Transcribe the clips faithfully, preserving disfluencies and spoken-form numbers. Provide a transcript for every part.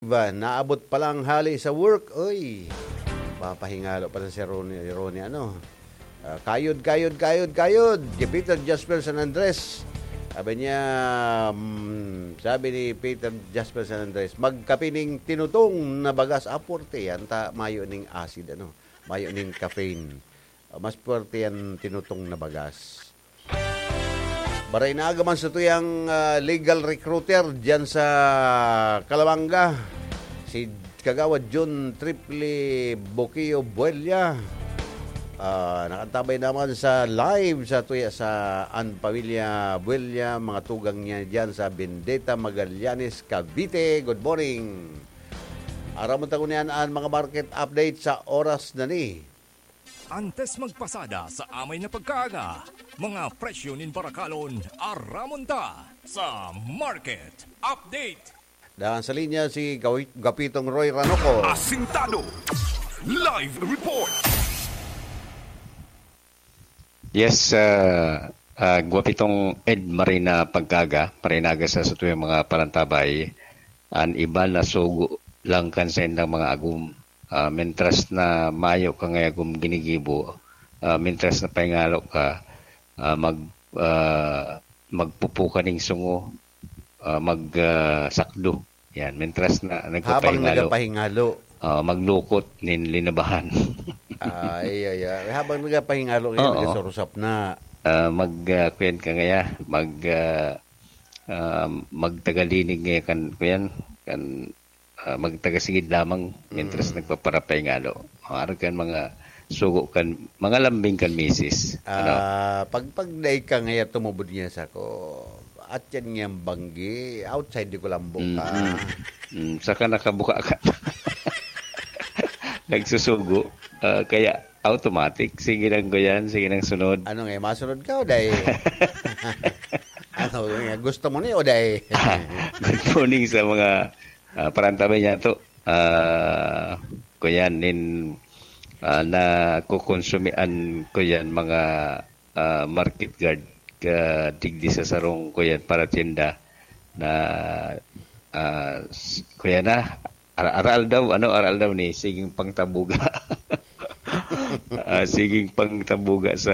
Naabot pa lang hali sa work, oy. Papahingalo pa lang si Ronnie, Ronnie, ano? Ah, kayod, kayod, kayod, kayod. Kay Peter Jasper San Andres. Sabi niya, mm, sabi ni Peter Jasper San Andres, "Magkape ning tinutong na bagas." Ah, puwerte yan. Ta, mayo ning acid, ano? Mayo ning caffeine. Ah, mas puwerte yan tinutong na bagas. Maray na aga man sa tuyang, ah, legal recruiter diyan sa Calamanga, si Kagawad John Triple Boquio Buella. Ah, nakantabay naman sa live sa tuya sa An Pamilya Buella, mga tugang niya diyan sa Bendeta, Magallanes, Cavite. Good morning. Aramon ta ngunyan an mga market update sa oras na ni. Antes magpasada sa amay na pagkaaga, mga presyo nin barakalon, aramon ta sa Market Update. Dangan sa linya si Gawi-, Gapitong Roy Ranoco. Asintado. Live report. Yes, ah, ah, Gwapitong Ed, maray na pagkaga, maray na aga sa satuyang mga parantabay. An iba nasugo lang kan saindang mga agom. Ah, mentras na mayo ka ngaya agom ginigibo, ah, mentras na pahingalo ka, ah, mag, ah, magpupo ka ning sungo, ah, mag, ah, sakdo. Yan, mentras na Habang nagpapahingalo. nagapahingalo. Ah, maglukot nin linabahan. Ay, ay, ay. Habang nagapahingalo, ngayon, Oo. nagasurusap na. Ah, mag, ah, kuyan ka ngaya, mag, ah, ah, magtagalinig ngaya kan, kuyan, kan, ah, magtagasigid lamang, mentras Mm. nagpaparapahingalo. Maaari kan mga sugo kan, mga lambing kan misis. Ano? Ah, pag, pag dai ka ngaya tumubod ngaya sako, at yan ngayang banggi, outside di ko lambo ka. Mm-mm. Mm, saka nakabuka ka. Nagsusugo. Ah, kaya automatic. Sige lang ko yan, sige lang sunod. Ano nga, masunod ka o dai? Ano nga, gusto mo ni o dai? Good morning sa mga, ah, parantabay niya to. Ah, kuyan, nin, ah, nakukonsumian ko yan, mga, ah, market guard ka digdi sa sarong, kuyan, paratyenda na, ah, s-, kuyan na, ara-, aral daw, ano, aral daw ni, siging pangtabuga. Ah, siging pangtabuga sa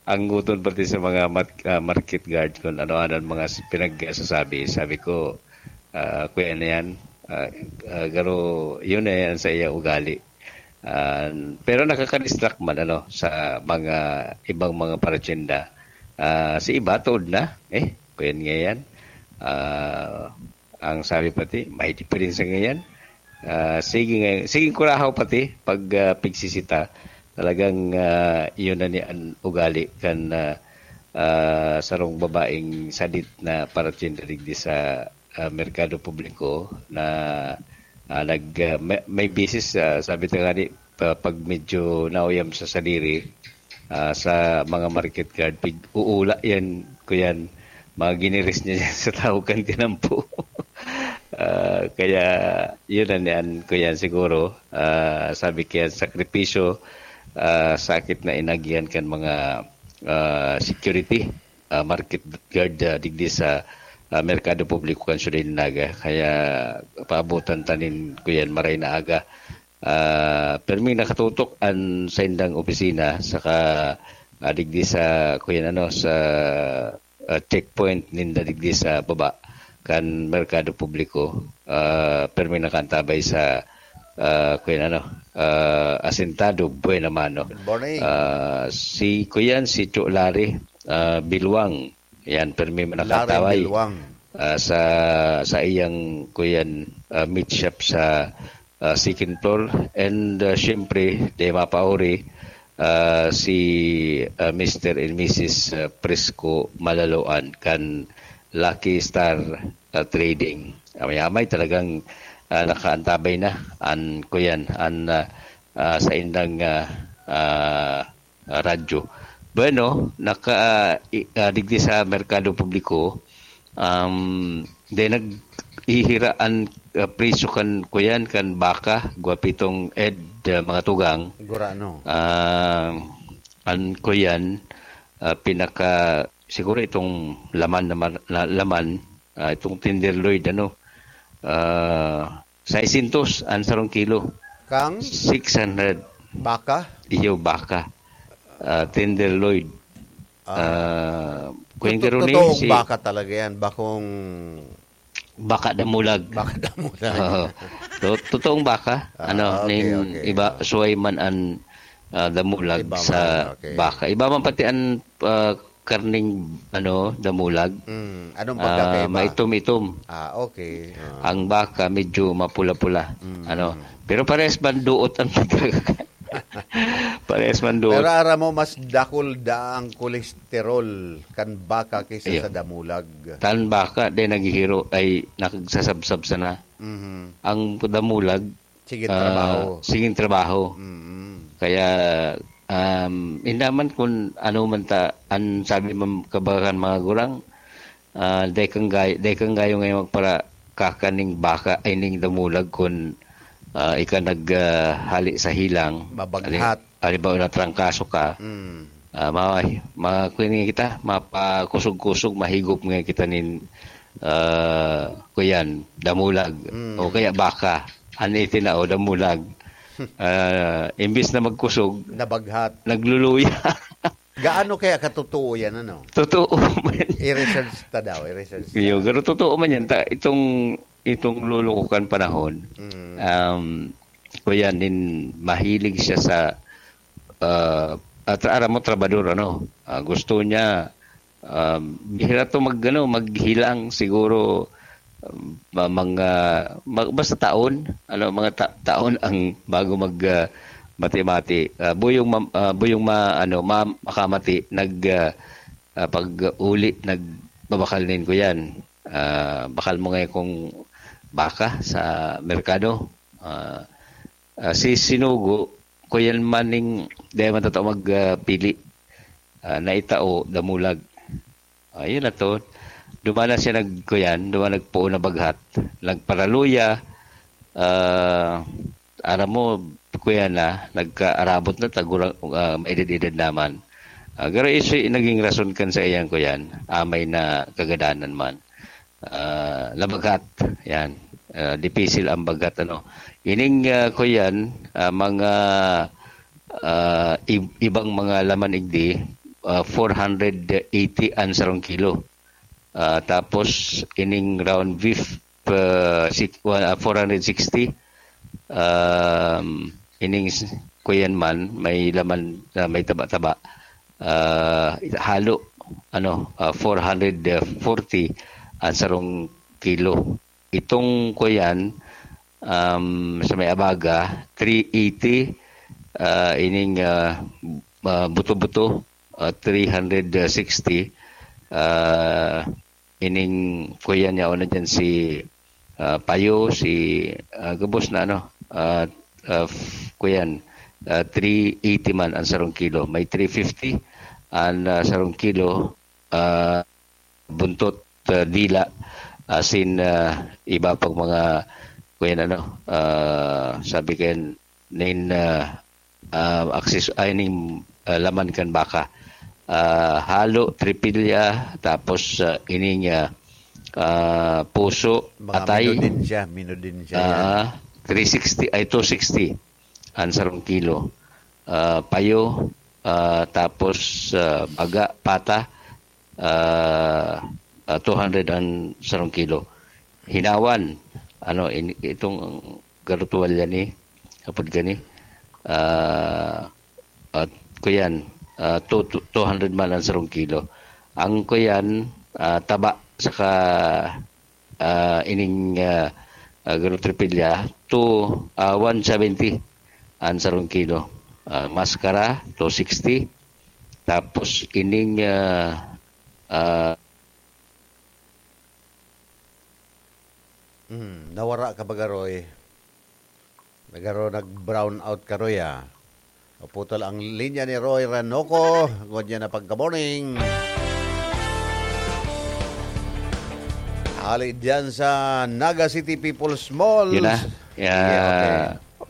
angguton pati sa mga mat-, ah, market guard kung ano-ano ang mga s-, pinagsasabi. Sabi ko, ah, kuya na yan, ah, ah, garo, yun na yan sa iya ugali. Ah, pero nakaka-distract man, ano, sa mga ibang mga paratyenda. Ah, si iba, tood na. Eh, kuya nga yan. Ah, ang sabi pati, may diferensya ngayon. Ah, sige nga, sige kurahaw pati pag, ah, pigsisita. Talagang, ah, iyon na ni an ugali kan, ah, ah, sarong babaeng sadit na paratyenda digdi sa, ah, merkado publiko na, ah, nag, ah, may, may bisis, ah, sabi ta nga ni, pa-, pag medyo nauyam sa sadiri, ah, sa mga market guard, pig-uula yan, kuyan, mga giniris niya yan sa tao kan tinampo. Ah, kaya, yun na niyan, kuyan, siguro, ah, sabi kaya, sakripisyo, ah, sakit na inagihan kan mga, ah, security, ah, market guard, ah, digdi sa, ah, merkado publiko kan Siyudad nin Naga. Kaya, paabutan ta nin, kuyan, maray na aga. Ah, permi nakatutok an saindang opisina saka, ah, digdi sa, kuyan, ano, sa, ah, checkpoint ninda digdi sa baba kan merkado publiko. Ah, permi nakaantabay sa, ah, kuyan, ano, ah, asentado, buena mano. Good morning. Ah, si, kuyan, si Cho Larry, ah, Bilwang. Yan, permi Larry manakataway. Bilwang. Ah, sa, sa iyang, kuyan, ah, meat shop sa, ah, second floor. And, ah, siyempre, di mapauri, ah, si, ah, Mister and Missus, ah, Prisco Malaloan kan Lucky Star, ah, Trading. Amay-amay talagang, ah, nakaantabay na an, kuyan, an, ah, ah, saindang, ah, ah, ah, radyo. Bueno, naka, ah, i-, ah, digdi sa merkado publiko, um, di naghihira an, ah, presyo kan, kuyan, kan baka, Gwapitong Ed, ah, mga tugang. Gurano. Ah, an, kuyan, ah, pinaka, siguro itong laman na mar-, na, laman, ah, itong tenderloin, ano, ah, Seiscientos ang sarong kilo. Kang? Six hundred. Baka? Iyo, baka. Ah, tenderloin. Ah. Ah, kung yung Toto-, garo ni totoong si baka talaga yan. Bakong baka damulag. Baka damulag. Oo. To-, totoong baka. Ah, ano, okay, nin okay. Iba, suway man an, ah, damulag iba sa man, okay. Baka. Iba man pati an, ah, karning, ano, damulag. Mm. Anong pagkakaiba? Ah, maitom-itom. Ah, okay. Ah. Ang baka medyo mapula-pula. Mm. Ano? Pero parehas man duot ang pagkaka-, parehas man duot. Pero aram mo, mas dakul daa ang kolesterol kan baka kaysa sa damulag. Tan baka, di naghihiro, ay nagsasabsab sana. Mhm. Ang damulag, sige, ah, trabaho. Sige, trabaho. Mm. Kaya, um, indaman kun ano man ta, an sabi man kabakan mga gurang, ah, dai kang gay-, dai kang gayo ngayon magpara-, kakaning baka, ay ning damulag kun, ah, ika nag, ah, hali sa hilang. Mabaghat. Halimbawa, natrangkaso ka, mm, ah, ma-, ma-, kuwan kita, mapakusog-kusog, mahigop nga kita nin, ah, kuyan, damulag, mm, o kaya baka, an itinao, damulag. Ah, imbis na magkusog, nabaghat. Nagluluya. Gaano kaya katotoo yan, ano? Totoo man. I-research ta daw, i-research ta. Iyo, pero totoo man yan. Ta-, itong, itong lolo ko kan panahon, mm, um, kuya, nin mahilig siya sa, ah, at aram mo, trabador, ano? Ah, gusto niya, um, bihira to mag, ano, maghilang siguro, um, ma-, mga, ma-, basta taon, ano, mga ta-, taon ang bago mag, ah, mati-mati. Ah, buyong ma-, ah, buyong ma-, ano, ma-, makamati, nag, ah, ah, pag uli, nagbabakal nin ko yan. Ah, bakal mo ngayon kung baka sa merkado. Ah, ah, si sinugo, kuyan man ning, di man totoo mag, ah, pili. Ah, naitao, damulag. Ah, yun na to. Duman na siya nag-, kuyan, duman nagpoon na baghat. Nagparaluya, ah, aram mo, kuyan na, nagkaarabot na, tagurang, ah, maedad-edad naman. Ah, garo iso naging rason kan sa iyang kuyan, amay na kagadanan man. Ah, nabaghat, yan. Ah, dipisil ang baghat, ano. Ining, ah, kuyan, ah, mga, ah, ib-, ibang mga laman igdi, ah, four hundred eighty ang sarong kilo. Ah, tapos ining round beef, ah, six, ah, four hundred sixty. Um, ining s-, kuyan man, may laman na may taba-taba. Ah, halo, ano, ah, four hundred forty ang sarong kilo. Itong kuyan, um, sa may abaga, three eighty, ah, ining, ah, ah, buto-buto, ah, three hundred sixty, ah, ining kuyan niya, una dyan si, ah, Payo, si, ah, gabos na ano, ah, ah, f-, kuyan, ah, three eighty man ang sarong kilo. May three fifty ang, ah, sarong kilo, ah, buntot, ah, dila, asin, ah, iba pang mga, kuyan ano, ah, sabi kayan, nin, ah, ah, akses-, ay, ning, ah, laman kan baka. Ah, halo, tripilya, tapos, ah, ining, ah, ah, puso, mga atay. Minudin siya, minudin siya yan. Ah, three sixty, ay, two sixty ang sarong kilo. Ah, payo, ah, tapos, ah, baga, pata, ah, ah, two hundred ang sarong kilo. Hinawan, ano, in-, itong garutuwal yan eh, kapag gani, ah, at kuyan, ah, two, two, two hundred man ang sarong kilo. Ang kuyan, ah, taba, saka, ah, ining, ah, ah, garutripilya, two, ah, one seventy ang sarong kilo. Ah, maskara, two sixty. Tapos ining, ah, ah, Hmm, nawara ka ba, Garoy? Nagaro, nag-brown out ka, Roy, ah. Naputol ang linya ni Roy Ranoco. Good yan na pagka-morning. Hali dyan sa Naga City People's Mall. Yun na. Yeah, okay.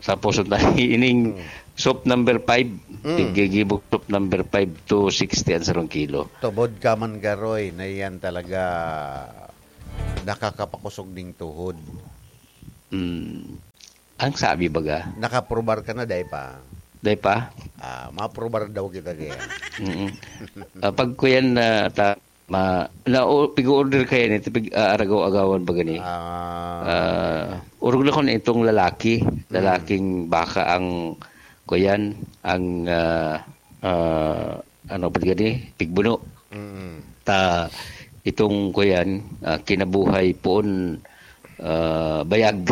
Sa puso na ining Hmm. soup number five. Hmm. Tiggigibo soup number five, two sixty ang sarong kilo. Tubod ka man, Garoy, na yan talaga nakakapakusog ning tuhod. Mm, ang sabi baga, nakaprobar ka na, dai pa? Dai pa? Ah, maprobar daw kita kaya. Mm. Ah, pag kuyan na ta-, ma-, na, o, pig-order kaya nito, pig-, ah, aragaw-agawan baga ni? Ah. Ah, orog na kun itong lalaki, Mm. lalaking baka ang kuyan, ang, ah, ah, ano pa gani, pigbuno. Mm. Ta, itong kuyan, ah, kinabuhay poon, ah, bayag.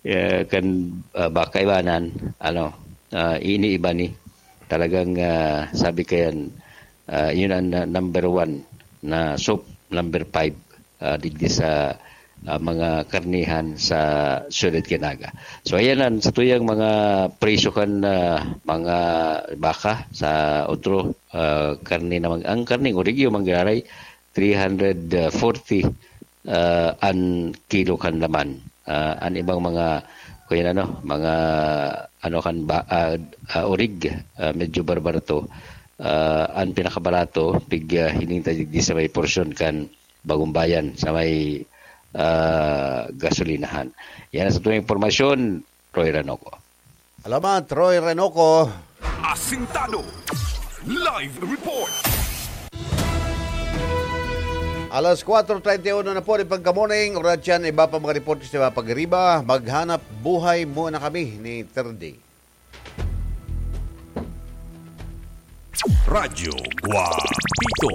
Eh, kan, ah, baka ibanan, ano, ah, iniiba ni. Talagang, ah, sabi kayan, ah, yun ang, ah, number one na soup, number five, ah, digdi sa, ah, mga karnihan sa Siyudad kan Naga. So, ayan ang sa tuyang mga presyo kan, ah, mga baka sa otro, ah, karne naman. Ang karneng origyo, manggaray, three hundred forty, ah, an kilo kan laman. Ah, an ibang mga, kuya ano, mga, ano kan ba, ah, ah, orig, ah, medyo barbarato. Ah, an pinakabarato, pig, ah, hiling ta digdi sa may porsyon kan Bagong Bayan, sa may, ah, gasolinahan. Yan ang sa tuwing impormasyon, Roy Ranoco. Salamat, Roy Renoco. Asintado. Live report. Alas kwatro treinta y uno na po, ni pagka-morning. Oras yan, iba pa mga report sa iba pag-iriba. Maghanap buhay muna kami ni Terdi. Radyo Guapito.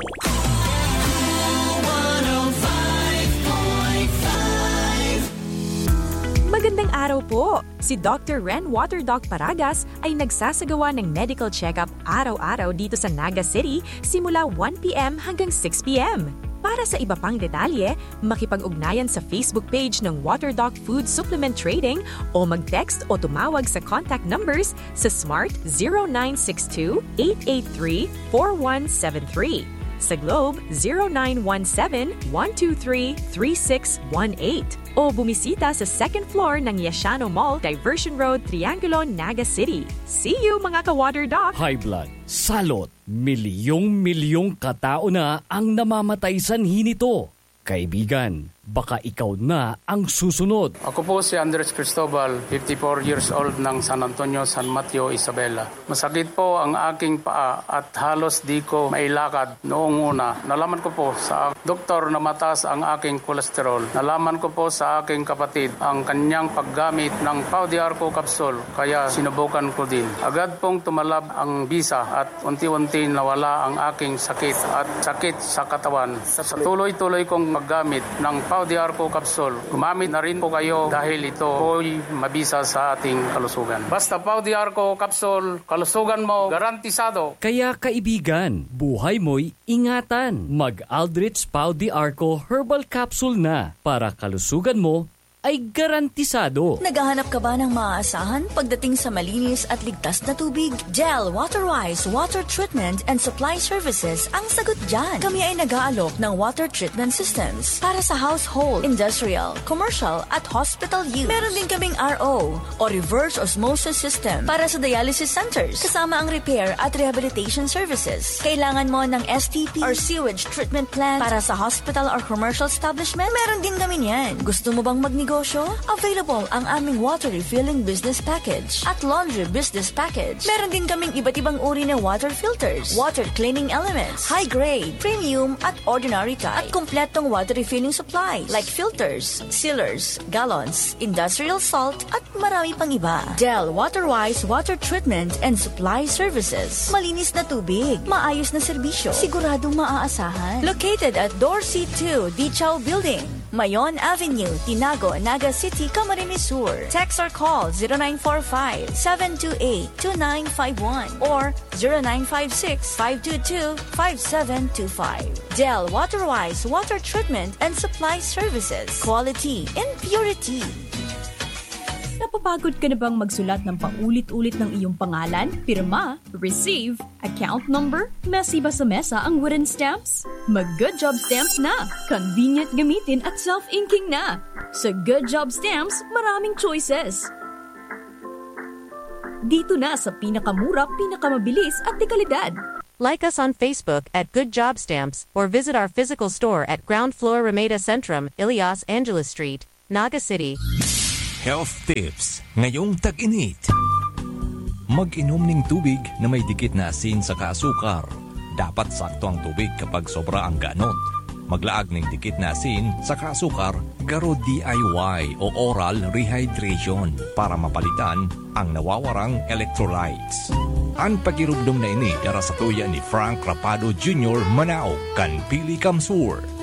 Magandang araw po! Si Doctor Ren Water Doc Paragas ay nagsasagawa ng medical check-up araw-araw dito sa Naga City simula one p m hanggang six p m. Para sa iba pang detalye, makipag-ugnayan sa Facebook page ng Water Doc Food Supplement Trading o mag-text o tumawag sa contact numbers sa Smart zero nine six two, eight eight three, four one seven three, sa Globe zero nine one seven, one two three, three six one eight, o bumisita sa second floor ng Yashano Mall, Diversion Road, Triangulo, Naga City. See you, mga ka-Water Doc! High blood, salot, milyong-milyong katao na ang namamatay sanhi nito. Kaibigan, baka ikaw na ang susunod. Ako po si Andres Cristobal, fifty-four years old, ng San Antonio, San Mateo, Isabela. Masakit po ang aking paa at halos di ko mailakad noong una. Nalaman ko po sa doktor na mataas ang aking kolesterol. Nalaman ko po sa aking kapatid ang kanyang paggamit ng Pau de Arco capsule, kaya sinubukan ko din. Agad pong tumalab ang bisa at unti-unti nawala ang aking sakit at sakit sa katawan. Sa tuloy-tuloy kong paggamit ng Pau de Arco capsule, gumamit na rin po kayo dahil ito po'y mabisa sa ating kalusugan. Basta Pau de Arco capsule, kalusugan mo garantisado. Kaya kaibigan, buhay mo'y ingatan. Mag Aldrich Pau de Arco Herbal Capsule na para kalusugan mo ay garantisado. Naghahanap ka ba ng maaasahan pagdating sa malinis at ligtas na tubig? Del Waterwise Water Treatment and Supply Services ang sagot dyan. Kami ay nag-aalok ng water treatment systems para sa household, industrial, commercial at hospital use. Meron din kaming R O o reverse osmosis system para sa dialysis centers, kasama ang repair at rehabilitation services. Kailangan mo ng S T P or sewage treatment plant para sa hospital or commercial establishment? Meron din kami niyan. Gusto mo bang magnegosyo? Available ang aming water refilling business package at laundry business package. Meron din kaming iba't ibang uri na water filters, water cleaning elements, high grade, premium at ordinary type, at kompletong water refilling supplies like filters, sealers, gallons, industrial salt, at marami pang iba. Del Waterwise Water Treatment and Supply Services. Malinis na tubig, maayos na serbisyo, siguradong maaasahan. Located at Dorsey two Dichaw Building, Mayon Avenue, Tinago, Naga City, Camarines Sur. Text or call zero nine four five, seven two eight, two nine five one or zero nine five six, five two two, five seven two five. Del Waterwise Water Treatment and Supply Services. Quality in purity. Napapagod ka na bang magsulat ng paulit-ulit ng iyong pangalan, pirma, receive, account number? Masiba sa mesa ang wooden stamps? Mag Good Job Stamps na! Convenient gamitin at self-inking na! Sa Good Job Stamps, maraming choices. Dito na sa pinakamura, pinakamabilis at dekalidad. Like us on Facebook at Good Job Stamps or visit our physical store at ground floor Ramada Centrum, Ilias Angeles Street, Naga City. Health tips ngayong tag-init. Mag-inom ning tubig na may dikit na asin saka asukar. Dapat sakto ang tubig kapag sobra ang ganot. Maglaag ning dikit na asin saka asukar, garo D I Y o oral rehydration para mapalitan ang nawawarang electrolytes. An pagirumdom na ini dara sa tuya ni Frank Rapado Junior Manao kan Pili Kamsur.